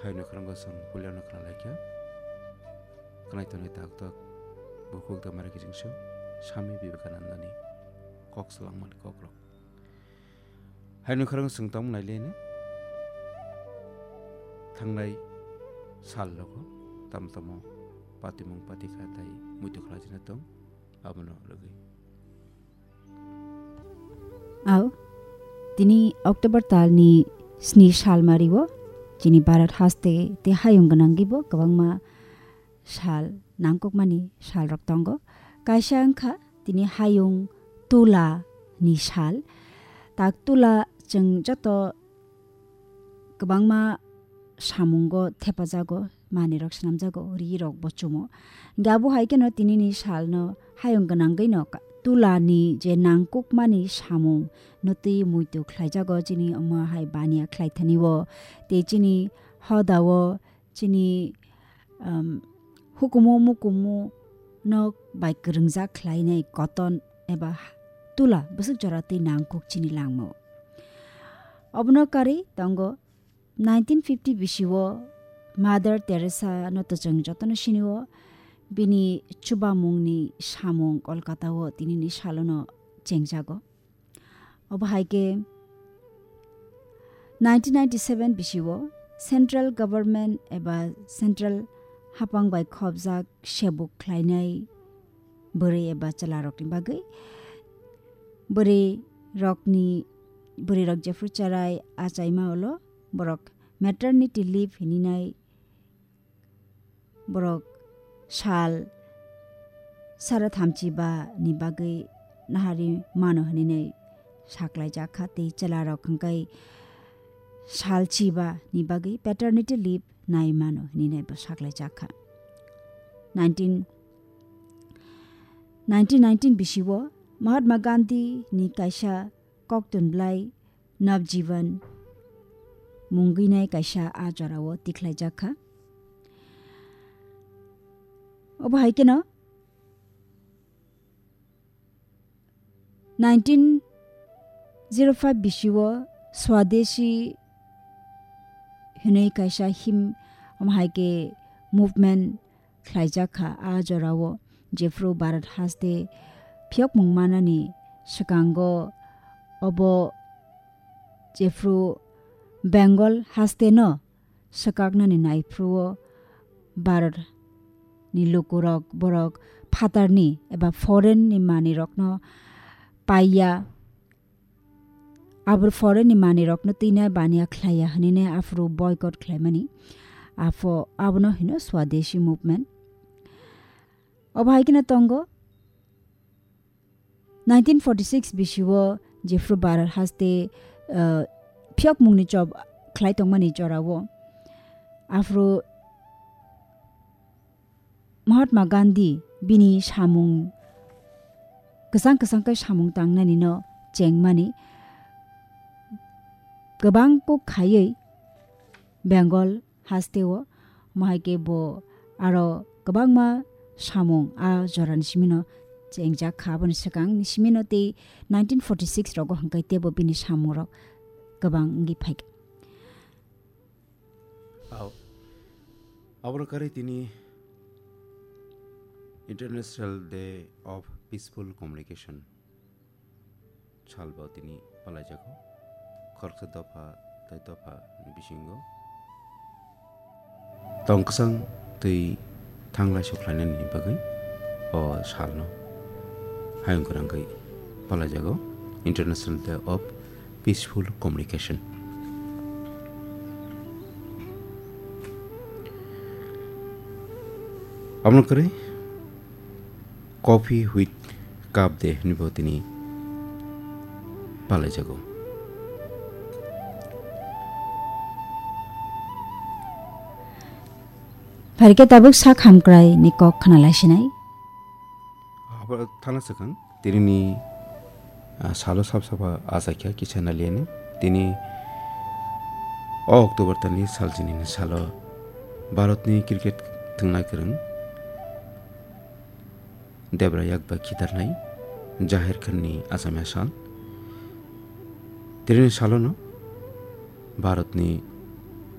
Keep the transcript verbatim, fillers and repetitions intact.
Haino khorang bosong puliano khna laikha. Khnai tongnai tak tak bukhuk da mari kijing song Swami Vivekananda ni kok salangmani kok rok. Haino khorang song tong nai lene thangnai sal rogo tam tamo patimung patikha tai muitu khlai jina tong abono rwgwi. Au, tini October talni sni salmario, chini Bharat haste te hayung gwnangwibo kwbangma sal nangkukmani salrok tongo. Kaisa wngkha tini hayung Tula ni sal. Tak Tula chwng joto kwbangma samungo thepajago, manwirok swnamjago, rirokbo chumo. Hingkhe abo hai kheno tinini salno hayung gwnangwino ka-, Tulani je nangkukmani samung no twi muitu khlaijago chini omo hai baniya khlaithani o, tei chini hodao chini, um, hukumu mukumu no bai kwrwngjak khlainai cotton eba Tula bwswk jora twi nangkuk chini langmao. Obono karwi tongo nineteen fifty bisio Mother Teresa no to chwng jotono sinio, bini chubamungni samung Kolkata o tinini salono chengjago. Obo hai khe nineteen ninety-seven bisio central government eba central hapang bai khopjak sebuk khlainai bwrwi eba chwlarokni bagwi bwrwi rokni, bwrwi rok jephru cherai achaima ulo borok maternity leave hininai borok sal sara thamchi ba ni bagwi nahari mano hinwi saklaijak kha, tei chwla rok hwnkhe sal chiba ni bagwi paternity leave nai mano hinwi bo saklaijak kha. Nineteen, nineteen nineteen bisio Mahatma Gandhi ni kaisa koktun bwlai Navjivan mungwinai kaisa a jorao tikhlaijak kha. Obo hai kheno nineteen zero five bisio Swadeshi hinwi kaisa him, omo hai khe movement khlaijak kha. A jorao jephru Bharat haste phiyokmung manani swkango obo jephru Bengal haste no swkaknani naiphruo Bharat ni lukurok borok phatarni eba foreign ni manwirokno paiya. Abo foreign ni manwirokno twina baniya khlaiya hwnwi aphuru boycott khlaimani. Apho abono hino Swadeshi movement. Obo hai kheno tongo nineteen forty-six bisio jephru Bharat haste, uh, phiyokmungni chop khlai tongmani jorao aphuru Mahatma Gandhi bini samung kwchang kwchang khe samung tangnani no chengmani kwbang kok khaiwi Bengal hasteo, mohai khe bo aro kwbangma samung a jorani simino chengjak kha. Aboni swkangni simino tei nineteen forty-six rogo hwnkhe teibo bini samungrok kwbang wngwi phaikha. Au. Aboni karwi tini International Day of Peaceful Communication sal bo tini palaijago. Khoroksa dopha tei dopha ni bisingo tong kwchang twi thanglai sokhlainani bagwi o salno hayung kwrwngwi palaijago, International Day of Peaceful Communication. Abono kwrwi Coffee with Cup Day hinwi bo tini palaijago. Phaikhe tabuk sak hamkrai ni kok khna laisinai. Abo thana swkang tinini, ah, salo sab saba achaikha kisa naliani. Tini o October tani sal chinini salo Bharatni cricket thwngna kwrwng Debra yak bai khitarnai Jahir Khanni Assamia sal. Tini salono Bharatni